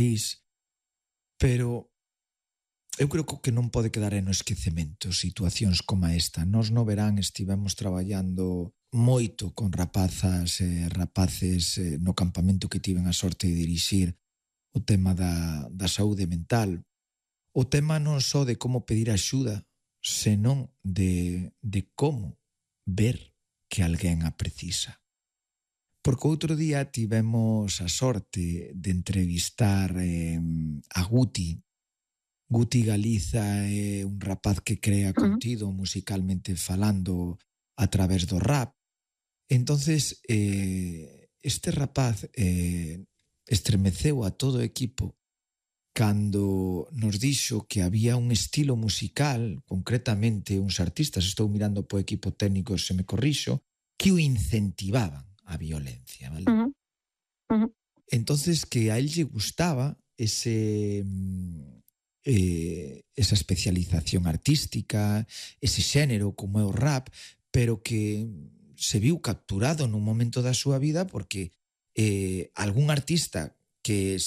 país, pero eu creo que non pode quedar no esquecemento situacións como esta. Nós no verán estivemos traballando moito con rapazas e rapaces no campamento que tiven a sorte de dirixir o tema da saúde mental. O tema non só de como pedir axuda, senón de como ver que alguén a precisa. Porque outro día tivemos a sorte de entrevistar a Guti. Guti Galiza é un rapaz que crea contido musicalmente falando a través do rap. Entonces, este rapaz estremeceu a todo o equipo cando nos dixo que había un estilo musical, concretamente uns artistas, estou mirando po equipo técnico se me corrixo, que o incentivaban a violencia, vale? Entonces que a él lle gustaba esa especialización artística, ese xénero como é o rap, pero que se viu capturado nun momento da súa vida porque algún artista que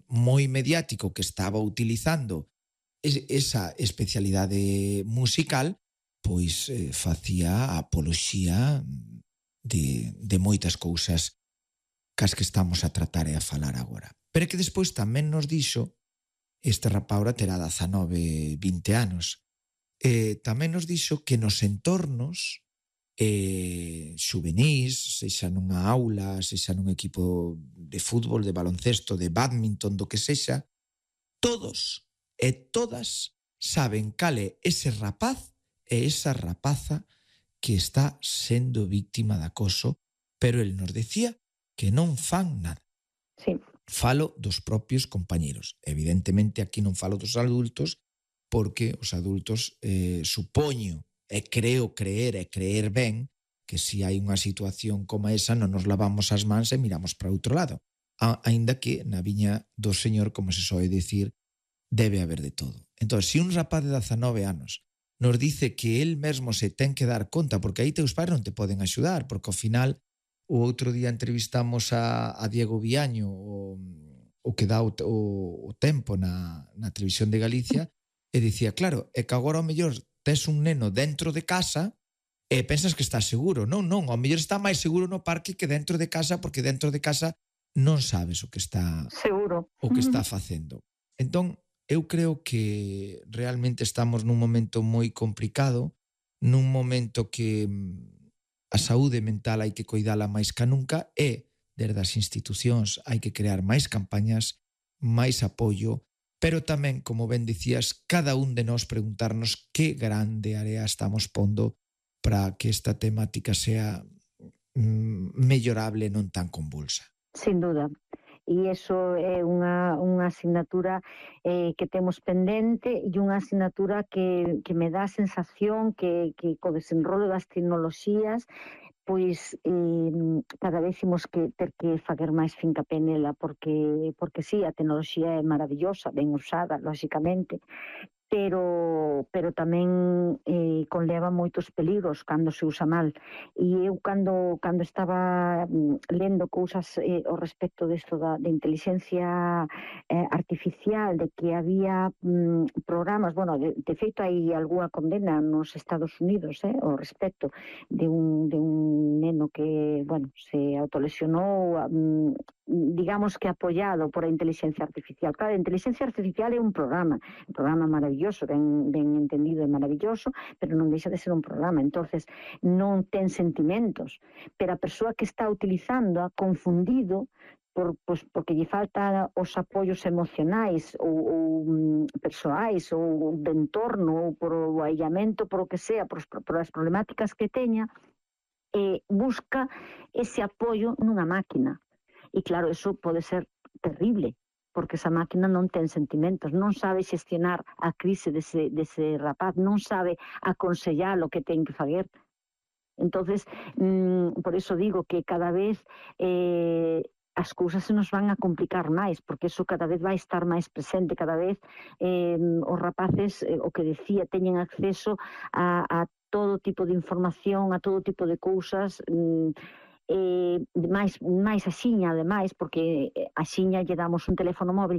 moi mediático que estaba utilizando esa especialidade musical, pois facía apoloxía de moitas cousas cas que estamos a tratar e a falar agora. Pero que despois tamén nos dixo, este rapaz ahora terá 19, 20 anos, tamén nos dixo que nos entornos xuvenís, sexa nunha aula, sexa nun equipo de fútbol, de baloncesto, de badminton, do que sexa, todos e todas saben cal é ese rapaz e esa rapaza que está sendo víctima de acoso, pero el nos decía que non fan nada. Sí. Falo dos propios compañeros. Evidentemente, aquí non falo dos adultos, porque os adultos supoño e creo creer ben que se hai unha situación como esa non nos lavamos as mans e miramos para outro lado. Aínda que na viña do Señor, como se soe dicir, debe haber de todo. Entón, se un rapaz de 19 anos nos dice que él mesmo se ten que dar conta, porque aí teus pais non te poden axudar, porque ao final o outro día entrevistamos a Diego Viaño, o que dá o tempo na televisión de Galicia, e dicía, claro, é que agora ao mellor tes un neno dentro de casa e pensas que está seguro. Non, ao mellor está máis seguro no parque que dentro de casa, porque dentro de casa non sabes o que está seguro, o que está facendo. Entón, eu creo que realmente estamos nun momento moi complicado, nun momento que a saúde mental hai que coidala máis que nunca e, desde as institucións, hai que crear máis campañas, máis apoio, pero tamén, como ben dicías, cada un de nós preguntarnos que grande área estamos pondo para que esta temática sea mellorable, non tan convulsa. Sin duda. E iso é unha asignatura que temos pendente e unha asignatura que me dá a sensación que co desenrolo das tecnoloxías pois cada vez imos que ter que facer máis fincapé nela porque sí, a tecnoloxía é maravillosa, ben usada, lóxicamente, pero tamén conleva moitos peligros cando se usa mal. E eu cando estaba lendo cousas ao respecto desto da inteligencia artificial, de que había programas, bueno, de feito hai algunha condena nos Estados Unidos ao respecto de un neno que, bueno, se autolesionou, digamos que apoiado por a inteligencia artificial. Claro, a inteligencia artificial é un programa maravilloso, ben entendido e maravilloso, pero non deixa de ser un programa. Entonces, non ten sentimentos. Pero a persoa que está utilizando confundido porque lle falta os apoios emocionais ou persoais ou de entorno ou por o aillamento, por o que sea, por as problemáticas que teña, busca ese apoio nunha máquina. E claro, eso pode ser terrible, porque esa máquina non ten sentimentos, non sabe xestionar a crise dese rapaz, non sabe aconsellar o que ten que fazer. Entonces, por iso digo que cada vez as cousas se nos van a complicar máis, porque eso cada vez vai estar máis presente, cada vez os rapaces, o que decía, teñen acceso a todo tipo de información, a todo tipo de cousas, máis a xiña, ademais, porque a xiña lle damos un teléfono móvil